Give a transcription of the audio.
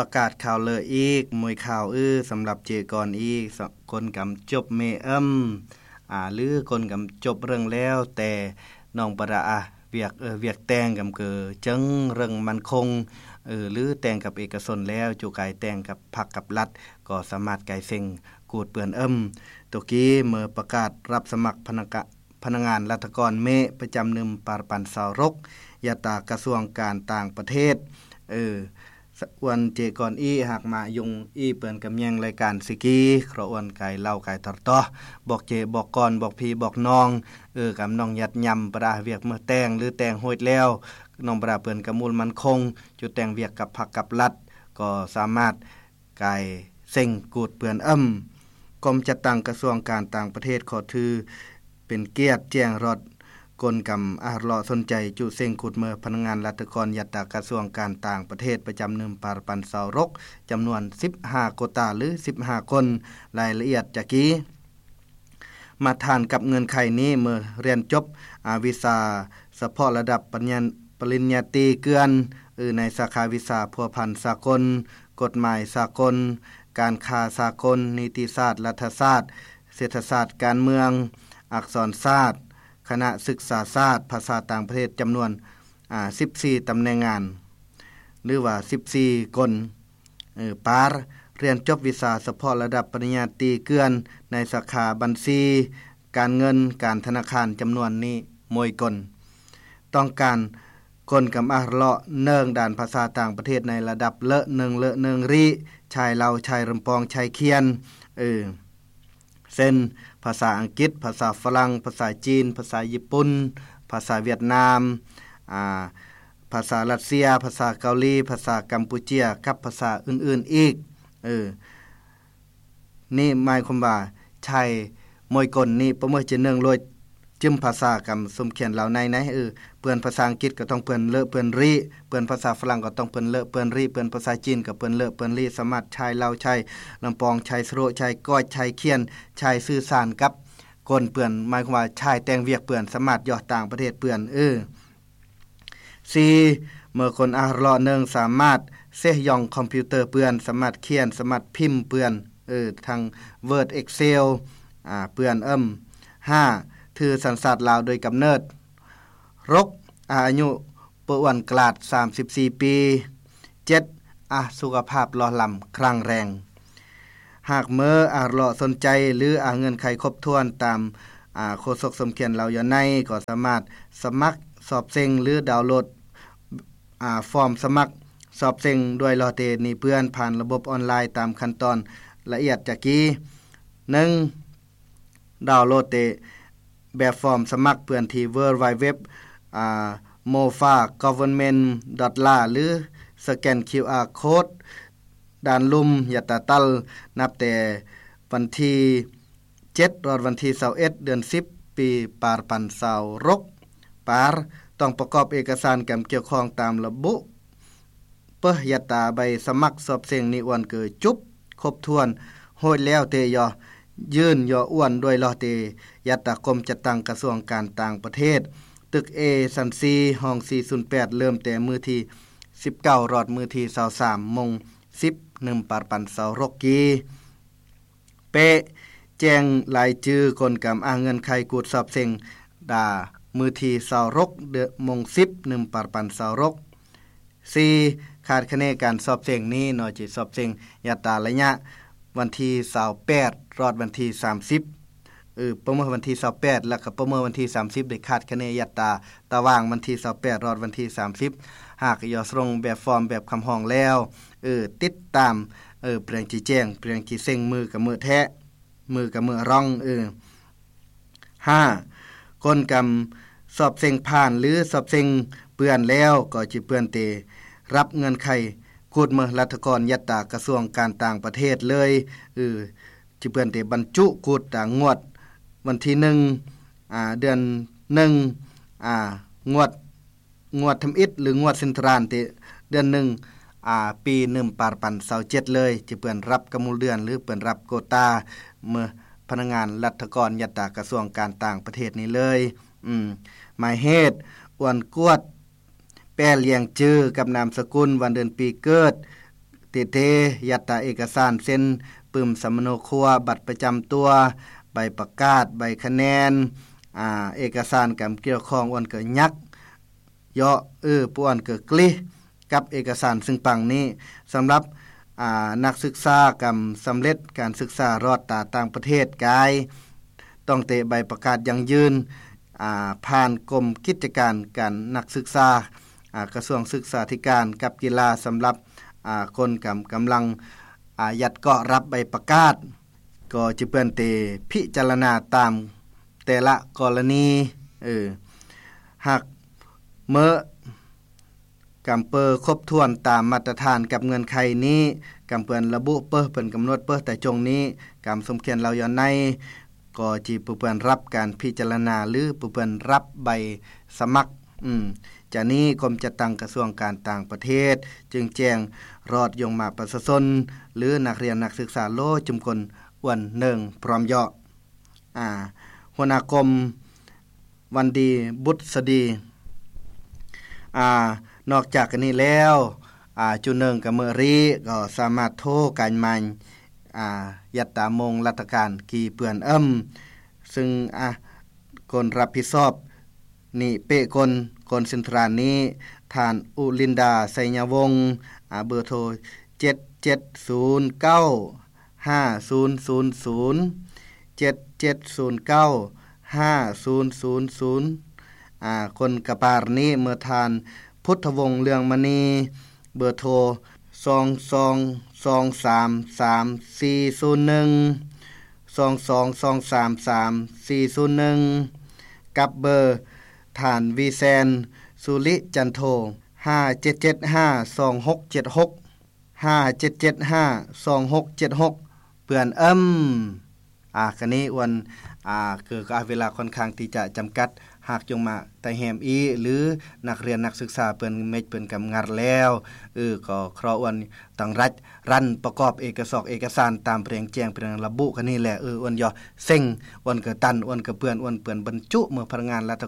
ປະກາດຂ່າວເລີອີກ ມວຍຂ່າວອື້ ສຳລັບເຈກ່ອນອີກ ຄົນກຳຈົບເມເອິມ ອາ ຫຼືຄົນກຳຈົບເລື່ອງແລ້ວ ແຕ່ນ້ອງປະດາ ອາ ວຽກ ເອີ ວຽກແຕ່ງກຳເກີ ເຈີງເລື່ອງໝັ້ນຄົງ ເອີ ຫຼືແຕ່ງກັບເອກະຊົນແລ້ວ ຈຸກາຍແຕ່ງກັບພັກກັບລັດ ກໍສາມາດກາຍເສັງກູດເປື້ອນເອິມ. ໂຕກີເມື່ອປະກາດຮັບສະໝັກພະນັກງານ ພະນັກງານລັດຖະກອນເມ ປະຈຳໜຶ່ງປານປັນຊາວຫົກ ຍາດຕາກະຊວງການຕ່າງປະເທດ ເອີ ສະ ອວນເຈກ່ອນອີ ຫາກມາຍຸງອີເປີ້ນກຳແຍງລາຍການຊິກີ ເຄາະອວນກາຍເລົ່າກາຍຕອດຕໍ່ ບອກເຈບອກກ່ອນ ບອກພີ່ບອກນ້ອງ ເອີ ກຳນ້ອງຍັດຍຳປະດາວຽກເມືອແຕ່ງ ຫຼືແຕ່ງໂຮດແລ້ວ ນ້ອງປະດາວເປີ້ນກຳມູນໝັ້ນຄົງ ຈຸແຕ່ງວຽກກັບພັກກັບລັດ ກໍສາມາດ ກາຍເສັງກູດເປື້ອນເອິມ. ກົມຈັດຕັ້ງກະຊວງການຕ່າງປະເທດ ຂໍຖືເປັນກຽດແຈ້ງຮອດ ກົນກຳອາຮະເລາະສົນໃຈຈຸເສັງກູດເມີພະນັກງານລັດຖະກອນ ຍັດຕາກະຊວງການຕ່າງປະເທດ ປະຈຳໜຶ່ງປານປັນຊາວຫົກ ຈຳນວນສິບຫ້າໂກຕາ ຫຼືສິບຫ້າຄົນ. ລາຍລະອຽດຈະກີ ມາດຖານກັບເງື່ອນໄຂນີ້ ເມື່ອຮຽນຈົບ ອາ ວິຊາສະເພາະລະດັບປະລິນຍາ ປະລິນຍາຕີເກືອນ ຫຼືໃນສາຂາວິຊາພົວພັນສາກົນ, ກົດໝາຍສາກົນ, ການຄ້າສາກົນ, ນິຕິສາດ, ລັດຖະສາດ, ເສດຖະສາດການເມືອງ, ອັກສອນສາດ, ຄະນະສຶກສາສາດ, ພາສາຕ່າງປະເທດ ຈຳນວນ ອາ ສິບສີ່ຕຳແໜ່ງງານ ຫຼືວ່າສິບສີ່ຄົນ. ເອີ ປານ ຮຽນຈົບວິຊາສະເພາະລະດັບປະລິນຍາຕີເກືອນ ໃນສາຂາບັນຊີ, ການເງິນ, ການທະນາຄານ ຈຳນວນນີ້ ມວຍກົນ. ຕ້ອງການຄົນກຳອາຮະເລາະເນີງດ້ານພາສາຕ່າງປະເທດໃນລະດັບເລີໜຶ່ງເລີໜຶ່ງຣີ ຊາຍລາວ, ຊາຍລຳປອງ, ຊາຍຄຽນ ເອີ ເຊັ່ນ ພາສາອັງກິດ, ພາສາຝຣັ່ງ, ພາສາຈີນ, ພາສາຍີ່ປຸ່ນ, ພາສາຫວຽດນາມ, ອາ ພາສາຣັດເຊຍ, ພາສາເກົາຫຼີ, ພາສາກຳປູເຈຍ ກັບພາສາອື່ນໆອີກ. ເອີ ນີ້ໝາຍຄວາມວ່າ ຊາຍມວຍກົນນີ້ປະເມີດຈະເນີງໂລຍ ຈຶມພາສາກຳສົມຂຽນລາວໃນໃນ ເອີ ເປື້ອນພາສາອັງກິດກໍຕ້ອງເປື້ອນເລີເປື້ອນຣີ ເປື້ອນພາສາຝຣັ່ງກໍຕ້ອງເປື້ອນເລີເປື້ອນຣີ ເປື້ອນພາສາຈີນກໍເປື້ອນເລີເປື້ອນຣີ ສາມາດຊາຍລາວ ຊາຍລຳປອງ ຊາຍສະໂຣ ຊາຍກ້ອຍ ຊາຍຄຽນ ຊາຍສື່ສານກັບ ກົນເປື້ອນ ໝາຍຄວາມວ່າ ຊາຍແຕ່ງວຽກເປື້ອນ ສາມາດຢູ່ຕ່າງປະເທດເປື້ອນ ເອີ ສີ່ ເມື່ອຄົນອາຮະເລາະເນີງສາມາດເຊຍອງຄອມພິວເຕີເປື້ອນ ສາມາດຂຽນ ສາມາດພິມເປື້ອນ ເອີ ທັງ Word Excel ອາ ເປື້ອນເອີມ. ຫ້າ ຖືສັນຊາດລາວໂດຍກຳເນີດ. ຫົກ ອາ ອາຍຸບໍ່ອ້ວນກລາດ ສາມສິບສີ່ປີ. ເຈັດ ອາ ສຸຂະພາບຫຼໍ່ລຳ ແຂງແຮງ. ຫາກເມີອາຮະເລາະສົນໃຈ ຫຼື ອາ ເງື່ອນໄຂຄົບຖ້ວນຕາມ ອາ ໂຄສົກສົມຂຽນລາວຢູ່ໃນ ກໍສາມາດສະໝັກສອບເສັງ ຫຼື ດາວໂຫຼດ ອາ ຟອມສະໝັກສອບເສັງດ້ວຍລໍເຕນີ້ເພື່ອນ ຜ່ານລະບົບອອນລາຍຕາມຂັ້ນຕອນລະອຽດຈະກີ. ໜຶ່ງ ດາວໂຫຼດເຕແບບຟອມສະໝັກເພື່ອນທີ່ www ອາ mofa government dot la ຫຼື ສະແກນ ຄິວອາ ໂຄດ ດ້ານລຸ່ມ ຢາດຕາຕັນ ນັບແຕ່ວັນທີເຈັດ ຮອດວັນທີຊາວເອັດ ເດືອນສິບ ປີປານປັນຊາວຫົກ. ປານ ຕ້ອງປະກອບເອກະສານການກ່ຽວຂ້ອງຕາມລະບຸ ເປີ ຢາດຕາໃບສະໝັກສອບເສັງນີອວນເກີຈຸບ ຄົບຖ້ວນ ໂຮດແລ້ວເຕຍໍ ຍື່ນຍໍອວນດ້ວຍລໍເຕ ຢາດຕາກົມຈັດຕັ້ງກະຊວງການຕ່າງປະເທດ ຕຶກເອຊັ້ນສີ່ ຫ້ອງສີ່ສູນແປດ ເລີ່ມແຕ່ມື້ທີສິບເກົ້າ ຮອດມື້ທີຊາວສາມ ໂມງສິບ ໜຶ່ງປານປັນຊາວຫົກກີ. ເປ ແຈ້ງລາຍຈື່ຄົນກຳອ້າງເງື່ອນໄຂກູດສອບເສັງ ດາ ມື້ທີຊາວຫົກ ເດືອນ ໂມງສິບ ໜຶ່ງປານປັນຊາວຫົກ. ສີ່ ຄາດຄະເນການສອບເສັງນີ້ເນາະ ຈະສອບເສັງຢາດຕາໄລຍະວັນທີຊາວແປດ ຮອດວັນທີສາມສິບ ເອີ ປະເມີນວັນທີຊາວແປດ ແລ້ວກໍປະເມີນວັນທີສາມສິບ ໄດ້ຄາດຄະເນຢາດຕາຕາວ່າງວັນທີຊາວແປດ ຮອດວັນທີສາມສິບ ຫາກຢາກສົ່ງແບບຟອມແບບຄຳຮ້ອງແລ້ວ ເອີ ຕິດຕາມ ເອີ ເພື່ອນຊິແຈ້ງ ເພື່ອນຊິເສັງ ມື້ກະເມີແທ້ ມື້ກະເມີຣອງ ເອີ. ຫ້າ ຄົນກຳສອບເສັງຜ່ານ ຫຼື ສອບເສັງເປື້ອນແລ້ວ ກໍຈະເປື້ອນເຕ ຮັບເງື່ອນໄຂ ກູດເມີລັດຖະກອນ ຍັດຕາກະຊວງການຕ່າງປະເທດເລີຍ ເອີ ຈະເປື້ອນເຕບັນຈຸກູດຕາງງວດ ວັນທີໜຶ່ງ ອາ ເດືອນໜຶ່ງ ອາ ງວດ ງວດທຳອິດ ຫຼື ງວດເຊັນທຣານ ເຕ ເດືອນໜຶ່ງ ອາ ປີໜຶ່ງປານປັນຊາວເຈັດເລີຍ ຈະເປື້ອນຮັບກຳມູນເດືອນ ຫຼື ເປື້ອນຮັບໂກຕາ ເມີພະນັກງານລັດຖະກອນ ຍັດຕາກະຊວງການຕ່າງປະເທດນີ້ເລີຍ. ອືມ ໝາຍເຫດ ອວນກວດ ແປລຽງຈື່ກັບນາມສະກຸນ ວັນເດືອນປີເກີດ ເຕ ຍັດຕາເອກະສານເຊັ່ນ ປຶ້ມສຳມະໂນຄົວ, ບັດປະຈຳຕົວ, ໃບປະກາດ, ໃບຄະແນນ, ອາ, ເອກະສານກຳກ່ຽວຂ້ອງ ອວນກະຍັກ ເຍາະ ອື ປວນກະກລິ ກັບເອກະສານຊຶ່ງປັງນີ້. ສຳລັບ ອາ, ນັກສຶກສາກຳສຳເລັດການສຶກສາລອດຕາຕ່າງປະເທດກາຍ ຕ້ອງເຕະໃບປະກາດຢັ້ງຢືນ ອາ, ຜ່ານກົມກິດຈະການການນັກສຶກສາ ອາ, ກະຊວງສຶກສາທິການກັບກິລາ ສຳລັບ ອາ, ຄົນກຳ, ກຳລັງ ອາ, ຍັດເກາະຮັບໃບປະກາດ ກໍຈະເປື້ອນເຕພິຈາລະນາຕາມແຕ່ລະກໍລະນີ ເອີ ຫາກເມີ້ ກຳເປີຄົບຖ້ວນຕາມມາດຕະຖານກັບເງື່ອນໄຂນີ້ ກຳເປື້ອນລະບຸເປີ ເພິ່ນກຳນົດເປີແຕ່ຈົ່ງນີ້ ກຳສົມຄຽນລາວຍ້ອນໃນ ກໍຈະປະເປື້ອນຮັບການພິຈາລະນາ ຫຼື ປະເປື້ອນຮັບໃບສະໝັກ. ອືມ ຈາກນີ້ ກົມຈັດຕັ້ງກະຊວງການຕ່າງປະເທດ ຈຶ່ງແຈ້ງຮອດຍົງມາປະຊາຊົນ ຫຼື ນັກຮຽນນັກສຶກສາໂລຈຸມຄົນ ອວນເໜິງ ພ້ອມເຍາະ ອາ ຫົວໜ້າກົມ ວັນດີ ບຸດສະດີ. ອາ ນອກຈາກອັນນີ້ແລ້ວ ອາ ຈຸເໜິງກະເມີຣີ ກໍສາມາດໂທການມາຍ ອາ ຍັດຕາມົງລັດຖະການກີເປືອນເອີ້ມ ຊຶ່ງ ອາ ຄົນຮັບຜິດຊອບນີ້ເປະກົນ ຄົນເຊັນທຣານນີ້ ທ່ານ ອຸລິນດາ ໄຊຍະວົງ ອາ ເບີໂທ ເຈັດເຈັດສູນເກົ້າ ຫ້າສູນສູນສູນ ເຈັດເຈັດສູນເກົ້າ ຫ້າສູນສູນສູນ ອາ ຄົນກະປານນີ້ ເມີທ່ານ ພຸດທະວົງ ເລື່ອງມະນີ ເບີໂທ ສອງສອງສອງສາມສາມສີ່ສູນໜຶ່ງ ສອງສອງສອງສາມສາມສີ່ສູນໜຶ່ງ ກັບເບີທ່ານ ວີແຊນ ສຸລິຈັນໂທ ຫ້າເຈັດເຈັດຫ້າສອງຫົກເຈັດຫົກ ຫ້າເຈັດເຈັດຫ້າສອງຫົກເຈັດຫົກ ເພື່ອນເອີ້ມ. ອາ ກະນີ້ອວນ ອາ ເກີດ ອາ ເວລາຄ່ອນຂ້າງທີ່ຈະຈຳກັດ ຫາກຈົ່ງມາໄຕ່ແຮມອີ ຫຼື ນັກຮຽນນັກສຶກສາເພິ່ນເມັດເພິ່ນກຳງັດແລ້ວ ເອີ ກໍຂໍອວນຕັງລັດ ຣັນປະກອບເອກະສອກເອກະສານຕາມແປງແຈ້ງແປງລະບຸກະນີ້ແຫຼະ ເອີ ອວນຢໍເສັງ ອວນກະຕັນ ອວນກະເປື້ອນ ອວນເປື້ອນບັນຈຸເມືອພະນັກງານລັດຖະ